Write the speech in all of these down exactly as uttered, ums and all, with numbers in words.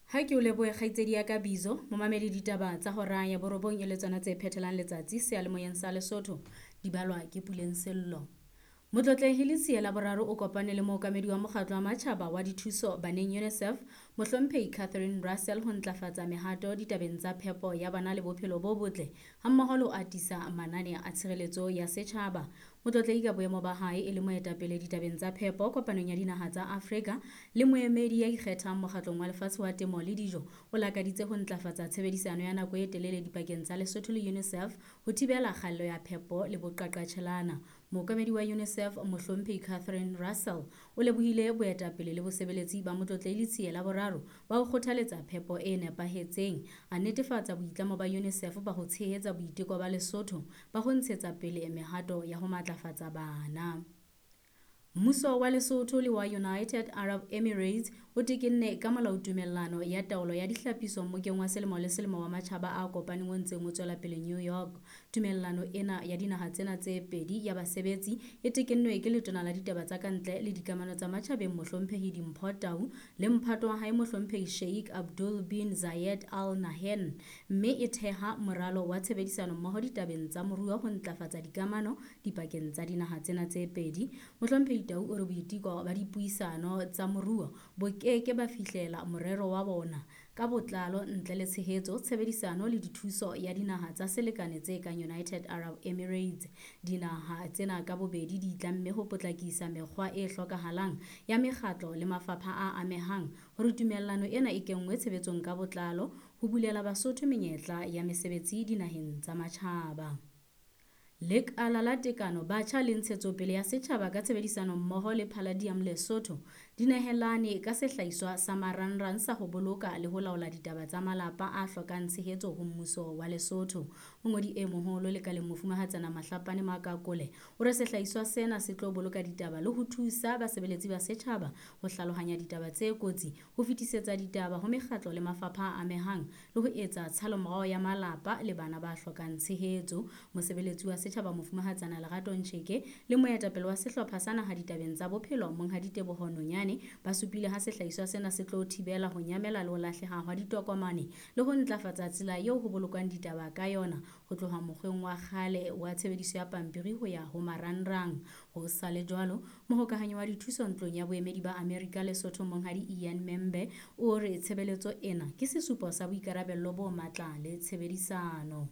Ha ke o lebohe kgaitsedi ya ka Bizo, momamedi ditaba tsa hora ya borobong e le tsona tse phethelang letsatsi seyalemoyeng sa Lesotho, di balwa ke Puleng Sello. Motlotlehi Letsie la boraro o kopane le mookamedi wa mokgatlo wa matjhaba wa dithuso baneng UNICEF, Mohlomphehi Catherine Russell ho ntlafatsa mehato ditabeng tsa phepo ya bana le bophelo bo botle hammoho le ho atisa manane a tshireletso ya setjhaba. Motlotlehi ka boemo ba hae e le moetapele ditabeng tsa phepo kopanong ya dinaha tsa Afrika le moemedi ya ikgethang mokgatlong wa lefatshe wa temo le dijo o lakaditse ho ntlafatsa tshebedisano ya nako e telele dipakeng tsa Lesotho le UNICEF ho thibela kgaello ya phepo le boqaqatjhelana. Mookamedi wa UNICEF Mohlomphehi Catherine Russell o lebohile boetapele le bosebeletsi ba Motlotlehi Letsie la boraro ba ho kgothaletsa phepo e nepahetseng, a netefatsa boitlamo ba UNICEF ba ho tshehetsa boiteko ba Lesotho ba ho ntshetsa pele mehato ya ho matlafatsa bana. Mmuso wa Lesotho le wa United Arab Emirates o tekenne ka molaotumellano ya taolo ya dihlapiso mmokeng wa selemo le selemo wa matjhaba a kopaneng o ntseng o tswela pele New York. Tumellano ena ya dinaha tsena tse pedi ya basebetsi e tekennwe ke letona la ditaba tsa kantle le dikamano tsa matjhabeng Mohlomphehi Dimpho Tau le mphato wa hae Mohlomphehi Sheikh Abdul bin Zayed Al Nahyan, mme e theha moralo wa tshebedisano mmoho ditabeng tsa moruo ho ntlafatsa dikamano dipakeng tsa dinaha tsena tse pedi. Mohlomphehi Tau o re boiteko ba dipuisano tsa moruo bo ke ke ba fihlela morero wa bona ka botlalo ntle le tshehetso, tshebedisano le dithuso ya dinaha tsa selekane tse kang United Arab Emirates. Dinaha tsena ka bobedi di itlamme ho potlakisa mekgwa e hlokahalang ya mekgatlo le mafapha a amehang hore tumellano ena e kenngwe tshebetsong ka botlalo ho bulela Basotho menyetla ya mesebetsi dinaheng tsa matjhaba. Lekala la Tekano, Batjha le Ntshetsopele ya Setjhaba ka tshebedisano mmoho le Palladium Lesotho di nehelane ka sehlahiswa sa marangrang sa ho boloka le ho laola ditaba tsa malapa a hlokang tshehetso ho mmuso wa Lesotho. Mongodi e moholo lekaleng Mofumahatsana Mahlapane Makakole o re sehlahiswa sena se tlo boloka ditaba le ho thusa basebeletsi ba setjhaba ho hlalohanya ditaba tse kotsi, ho fetisetsa ditaba ho mekgatlo le mafapha a amehang le ho etsa tshalomorao ya malapa le bana ba hlokang tshehetso. Mosebeletsi wa setjhaba Mofumahatsana Lerato Ncheke le moetapele wa sehlopha sa naha ditabeng tsa bophelo Monghadi Teboho Nonyane ba supile ha sehlahiswa sena se tlo thibela ho nyamela le ho lahleha hwa ditokomane le ho ntlafatsa tsela eo ho bolokwang ditaba ka yona ho tloha mokgweng wa kgale wa tshebediso ya pampiri ho ya ho marangrang. Ho sa le jwalo, mohokahanyi wa dithuso ntlong ya boemedi ba Amerika Lesotho Monghadi Ian Membe o re tshebeletso ena ke sesupo sa boikarabello bo matla le tshebedisano.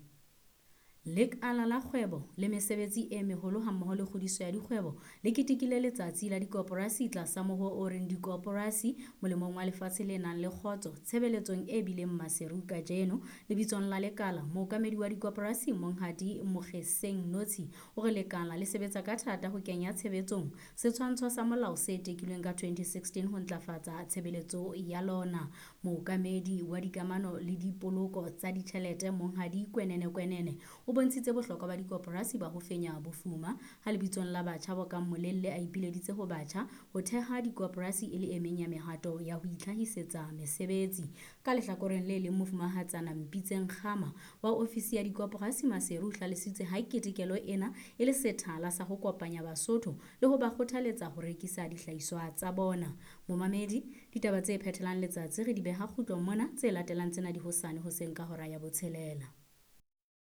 Lekala la kgwebo le mesebetsi e meholo hammoho le kgodiso ya dikgwebo le ketekile letsatsi la dikoporasi tlasa mohoo o reng dikoporasi molemong wa lefatshe le nang le kgotso tshebeletsong e bileng maseru kajeno. Lebitsong la lekala, mookamedi wa dikoporasi Monghadi Mokgeseng Notsi o re lekala le sebetsa ka thata ho kenya tshebetsong setshwantsho sa molao se tekilweng ka twenty sixteen ho ntlafatsa tshebeletso ya lona. Mookamedi wa dikamano le dipoloko tsa ditjhelete Monghadi Kwenene Kwenene o bontshitse bohlokwa ba dikoporasi ba ho fenya bofuma. Ha lebitsong la batjha bo kang Molelle a ipileditse ho batjha ho theha dikoporasi e le e meng ya mehato ya ho itlhahisetsa mesebetsi. Ka lehlakoreng le leng, Mofumahatsana Mpitseng Kgama wa ofisi ya dikoporasi Maseru o hlalositse ha ketekelo ena e le sethala sa ho kopanya Basotho le ho ba kgothaletsa ho rekisa dihlahiswa tsa bona. Momamedi, ditaba tse phethelang letsatsi re di beha kgutlong mona, tse latelang tsena di hosane hoseng ka hora ya botshelela.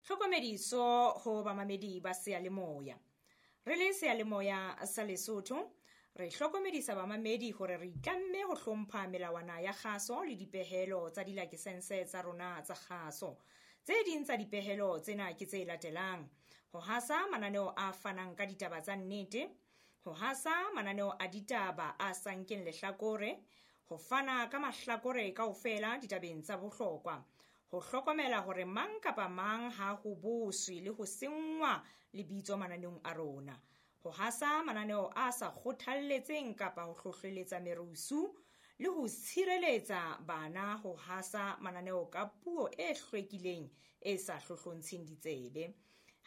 Tlhokomediso ho bamamedi ba seyalemoya. Re le seyalemoya sa Lesotho, re hlokomedisa bamamedi hore re itlamme ho hlompha melawana ya kgaso le dipehelo tsa dilakesense tsa rona tsa kgaso. Tse ding tsa dipehelo tsena ke tse latelang: ho hasa mananeo a fanang ka ditaba tsa nnete, ho hasa mananeo a ditaba a sa nkeng lehlakore, ho fana ka mahlakore kaofela ditabeng tsa bohlokwa, ho hlokomela hore mang kapa mang ha ho boswe le ho senngwa lebitso mananeong a rona, ho hasa mananeo a sa kgothalletseng kapa ho hlohleletsa merusu, le ho tshireletsa bana ho hasa mananeo ka puo e hlwekileng e sa hlohlontsheng ditsebe.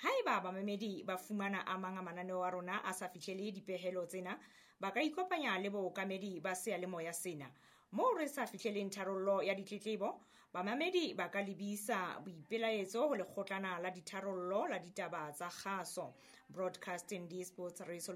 Haeba bamamedi ba fumana a mang a mananeo a rona a sa fihlele dipehelo tsena, ba ka ikopanya le bookamedi ba seyalemoya sena. Moo re sa fihleleng tharollo ya ditletlebo, bamamedi ba ka lebisa boipelaetso ho lekgotlana la ditharollo la ditaba tsa kgaso, Broadcasting Disputes Resolution.